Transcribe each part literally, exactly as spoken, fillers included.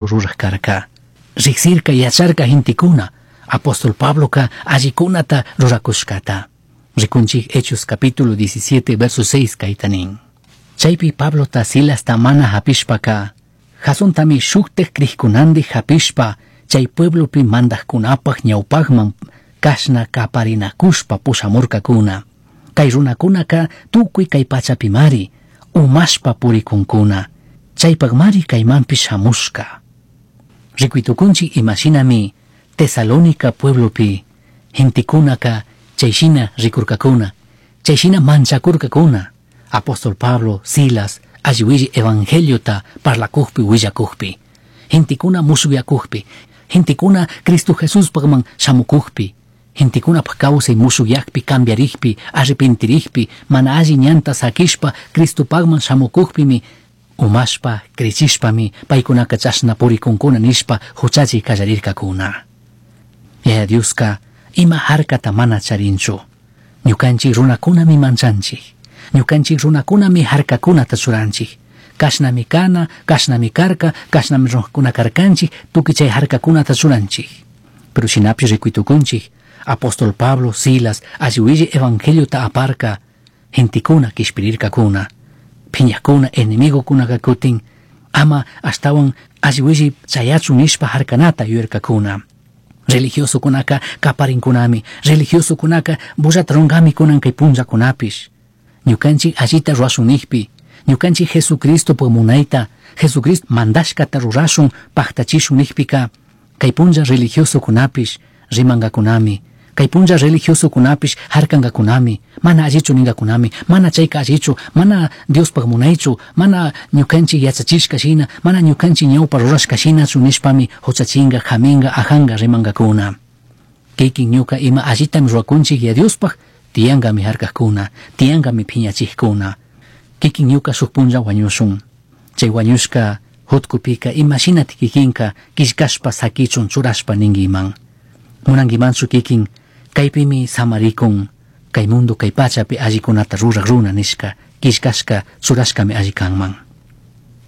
Ruraj karka. Riksirka yacharka gentekuna apóstol Pabloka allikunata rurakushkata. Rikunchik Hechos capítulo diecisiete verso seis kayta nin. Chaypi Pablota Silasta mana hapishpaka Jasontami shuktaj crijkunandi hapishpa chay pueblopi mandajkunapaj ñawpajman kashna kaparinakushpa pushamurkakuna. Kay runakunaka tukuy kay pachapimari umashpa purikunkuna. Chaypajmari kaymanpish shamushka. Rikuitukunchik imashinami Tesalónica pueblopi gentekunaka chayshina rikurkakuna, chayshina manchakurkakuna. Apóstol Pablo, Silas, alli evangeliota parlakujpi willakujpi. Gentekuna mushuyakujpi, gentekuna Cristo Jesuspajman shamukujpi, gentekunapaj kawsay mushuyakpi cambiarijpi, arrepentirijpi, mana alli ñanta sakishpa Cristopajman shamukujpimi umashpa, krichishpami paykunaka chashna purikunkuna nishpa huchachi kallarirkakuna. Yaya Dioska ima harkata mana charinchu. Ñukanchik runakunami manchanchik. Ñukanchik runakunami harkakunata churanchik. Kashnami kana, kashnami karka, kashnami runakuna karkanchik, tukuy chay harkakunata churanchik. Pero shinapish rikuytukunchik, apóstol Pablo, Silas, alli evangeliota aparka, gentekuna kishpirirkakuna. Phiñakuna, enemigokuna kutin, ama ashtawan alli chayachun nishpa harkanata yuyarkakuna. Religiosokunaka kaparinkunami, religiosokunaka bullata rungami kunan kay punllakunapish. Ñukanchik allita rurashun nijpi, ñukanchik Jesucristo munayta, Jesucristo mandashkata rurashun paktachishun nijpika, kay punlla religiosokunapish rimangakunami, kay punlla religiosokunapish harkangakunami, mana allichu ningakunami, mana chayka allichu, mana Diospaj munaychu, mana ñukanchik yachachishka shina, mana ñukanchik ñawpa rurashka shinachu nishpami huchachinga, haminga, ajanga rimangakuna. Kikin ñuka ima allitami rurakunchik ya Diospaj, tiyankami harkakuna, tiyankami phiñachikuna. Kikin ñuka shuk punlla wañushun. Chay wañushka hutkupika imashinati kikinka killkashpa sakichun churashpa ninkiman. Munankimanchu kikin kaypimi samarikun, kay mundo kay pachapi allikunata ruraj runa nishka, killkashka churashkami alli kanman.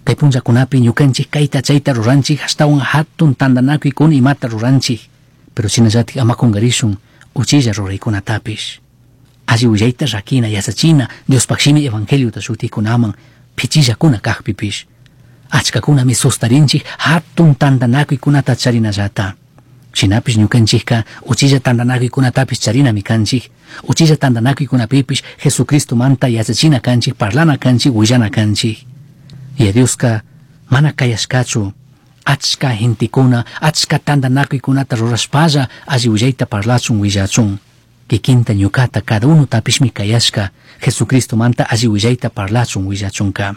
Kay punllakunapi ñukanchik kayta chayta ruranchik ashtawan hatun tantanakuykuna imata ruranchik, pero shinallatik ama kunkarishun uchilla ruraykunatapish. Alli willayta rakina yachachina Diospaj shimi evangeliota shutikunaman pichillakuna kajpipish. Achkakunami sustarinchik hatun tantanakuykunata charinallata. Shinapish ñukanchikka uchilla tantanakuykunatapish charinami kanchik. Uchilla tantanakuykunapipish Jesucristomanta yachachina kanchik, parlana kanchik, willana kanchik. Y Dioska mana kayashkachu achka gentekuna, achka tantanakuykunata rurashpalla alli willayta parlachun willachun. Kikinta ñukata cada uno tapishmi kayashka Jesucristomanta alli willayta parlachun willachunka.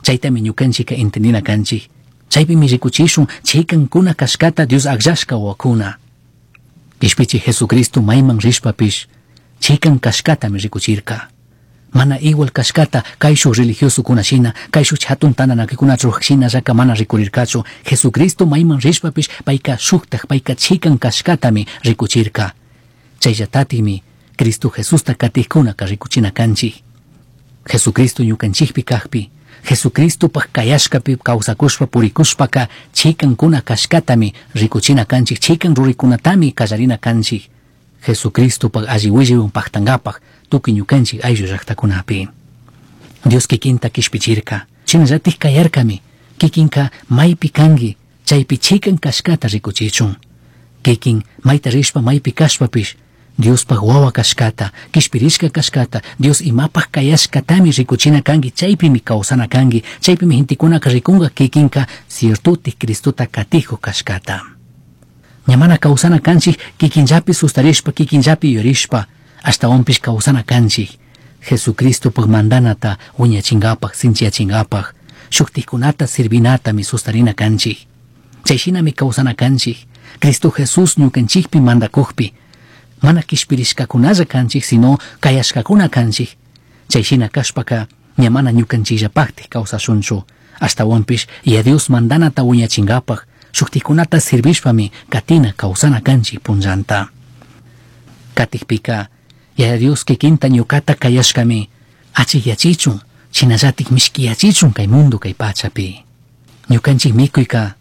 Chaytami ñukanchika entendina kanchik. Chaypimi rikuchishun chikankuna kashkata Dios akllashka wawakuna. Kishpichi Jesucristo mayman rishpapish chikan kashkatami rikuchirka. Mana igual kashkata kayshuj religiosokuna shina, kayshuj hatun tantanakuykunata ruraj shinallaka mana rikurirkachu. Jesucristo mayman rishpapish payka shuktaj, payka chikan kashkatami rikuchirka. Chayllatatimi Cristo Jesusta katijkunaka rikuchina kanchik. Jesucristo ñukanchikpi kajpi, Jesucristopaj kayashkapi kawsakushpa purikushpaka chikankuna kashkatami rikuchina kanchik, chikan rurikunatami kallarina kanchik. Jesucristopaj alli willaywan paktankapaj tukuy ñukanchik ayllu llaktakunapi. Dios kikinta kishpichirka, shinallatik kayarkami, kikinka maypi kanki, chaypi chikan kashkata rikuchichun. Kikin mayta rishpa maypi kashpapish, Diospaj wawa kashkata, kishpirishka kashkata, Dios imapaj kayashkatami rikuchina kanki, chaypimi kawsana kanki, chaypimi gentekunaka rikunka kikinka ciertotik Cristota katijo kashkata. Ña mana kawsana kanchik kikinllapi sustarishpa, kikinllapi yurishpa, ashtawanpish kawsana kanchik. Jesucristopaj mandanata wiñachinkapaj, sinchiyachinkapak, shuktikunata sirvinatami sustarina kanchik. Chayshinami kawsana kanchik. Cristo Jesús ñukanchikpi mandakujpi, mana kishpirishkakunalla kanchik, sino kayashkakuna kanchik. Chayshina kashpaka ña mana ñukanchikllapaktik kawsashunchu. Ashtawanpish ya Dios mandanata wiñachinkapaj, shuktikunata sirvishpami katina kawsana kanchik punllanta. Katikpika, Yaya Dios kikinta ñukata kayashkami achikyachichun, shinallatik mishkiyachichun kay mundo kay pachapi. Ñukanchik mikuyka